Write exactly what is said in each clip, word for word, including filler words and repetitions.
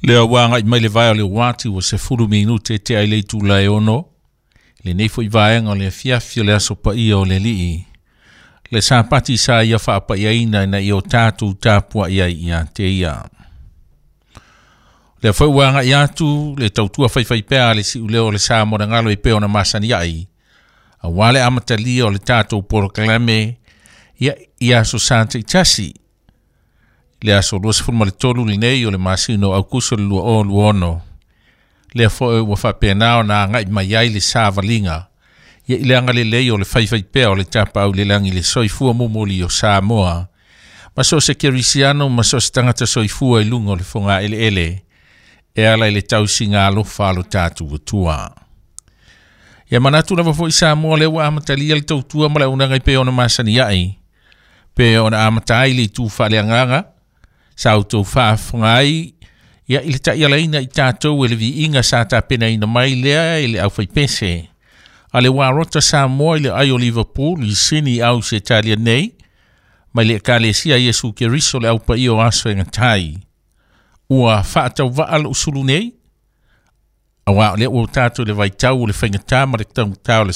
Lea ua agai mai le vae o le uati ua sefulu minute tea i le itula e ono. Lenei foi vaega o le afiafi o le aso paia o le Alii. Le Sapati sa ia faapaiaina ina ia o tatou tapuai ai ia te ia. Lea foi ua agai atu le tautua faifaipea a le siuleo o le sa mo galo e pei ona masani ai. Aua le amatalia o le tatou polokalame ia i aso sa taitasi. Le aso luasefulu ma le tolu lenei o le masina o Aukuso le lua o lua ono. Lea foi ua faapena ona agai mai ai le savaliga. Ia i le agalelei o le faifaipea o le tapaau le lagi le soifua momoli o Samoa. Ma so se kerisiano ma so se tagata soifua i luga o le fogaeleele. E ala i le tausiga alofa a lo tatou Atua. Ia manatu lava foi Samoa lea ua amatalia le tautua ma le auaunaga e pei ona masani ai. Pe ona amata ai le itu faaleagaga. Sa outou faafofoga ai ia i le taialaina i tatou e le viiga sa tapenaina mai lea i le aufaipese. A le uarota Samoa i le ai o Liverpool i Sini au se Italia nei, mai le Ekalesia Iesu Keriso le aupaia o aso e gatai. Ua faatauvaa lou sulu nei, auā o lea ua tatou le vaitau o le faigata ma le taugata o le,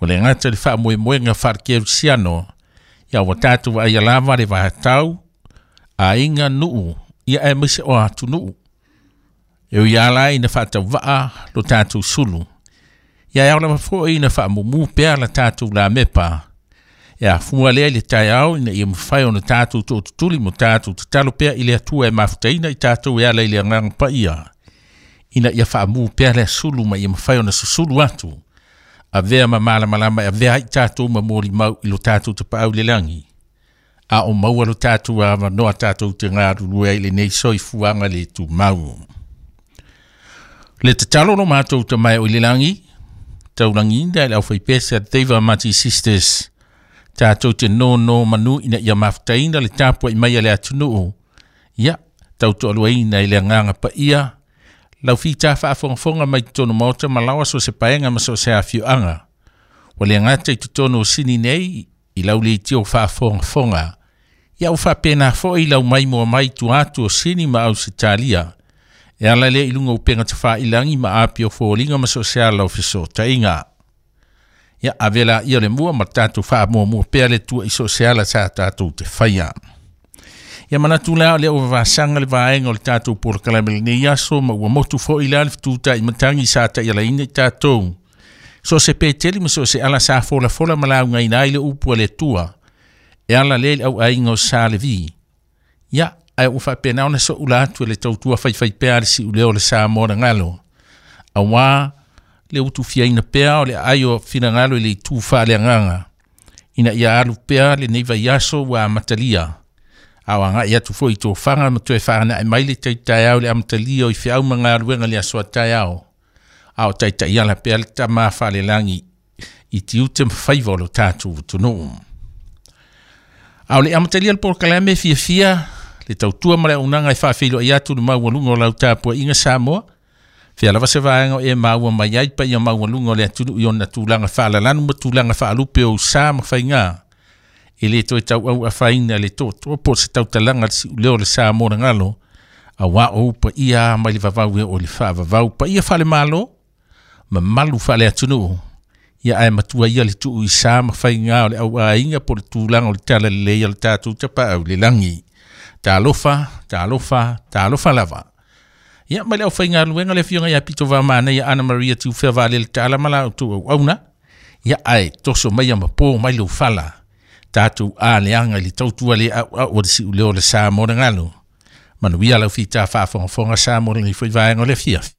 o le gata le faamoemoega faalekerisiano. Ia ua tatou vaaia lava le vaatau, aiga nuu, ia aemaise o atunuu. E ui lava ina faatauvaa lo tatou sulu. Ia e ao lava foi ina faamumu pea la tatou lamepa. E afua lea i le taeao ina ia mafai ona tatou tootutuli mo tatou tatalo pea i le Atua e mafutaina i tatou e ala i le agaga paia. Ina ia faamu pea le sulu ma ia mafai ona susulu atu. Avea ma malamalama e avea ai tatou ma molimau i lo tatou tapaau i le lagi. A o maua lo tatou avanoa tatou te galulue ai i lenei soifuaga le tumau. Le tatalo lo matou tamae o i le lagi, taulagiina e le aufaipese a Deva Mati Sisters. Tatou te nono manu ina ia mafutaina le tapuai mai a le atunuu. Ia, tautoaluaina i le agaga paia. Lau fita faafogafoga mai totonu maota ma laoa so se paega ma so se afioaga. Ua le gata i totonu o Sini nei, i lau leitio faafogafoga. Ia ua faapena foi i lau maimoa mai tua atu o Sini ma Ausetalia. E ala lea i luga o upega tafailagi ma api o foliga ma so se ala o fesootaiga. Ia ave la ia le mua ma tatou faamuamua pea le Atua i so se ala sa tatou te faia. Ia manatu la o lea ua vasaga le vaega o le tatou polokalame lenei aso ma ua motu foi la le fetutai matagi sa taialaina i tatou. So se peteli ma so se ala sa folafola ma laugaina ai le upu a le Atua. E ala lea i le auaiga o Sa Levi. Ia, ae ua faapena ona soula atu e le tautua faifaipea a le siuleo o le Samoa na galo. Auā le utufiaina pea o le aai o finagalo i le itu faaleagaga. Ina ia alu pea lenei vaiaso ua amatalia. A o agai atu foi i tofaga ma toe faanai mai le taitaeao i le amatalia o i feau ma galuega le aso a taeao. A o taitaiala pea le tama faalelagi i tiute ma faiva o lo tatou atunuu. A o le amatalia le polokalame fiafia le tautua ma le auaunaga e faafeiloai atu le maualuga o lau tapuaiga Samoa. Fea lava se vaega o e maua mai ai paia maualuga o le atunuu i ona tulaga faalalanu ma tulaga faalupe o usa ma faiga. E le toe tauau afaina le toatoa po o se tautalaga le siuleo o le Samoa na galo. Auā o upaia mai le vavau e oo i le faavavau. Paia faalemalo, mamalu faaleatunuu. Ia ae matua ia le tuu i sa ma faiga o le auaiga po o le tulaga o le talalelei o le tatou tapaau i le lagi. Talofa, talofa, talofa lava. Ia mai le aufaigaluega le afioga ia Pito Vamanaia Ana Maria Tiufea Vaalele Taala ma la outou auauna. Ia ae toso maia ma po mai lou fala. Tatou aleaga i le tautua le auau o le siuleo o le Samoa na galo. Manuia lau fita faafogafoga Samoa lenei foi vaega o le afiafi.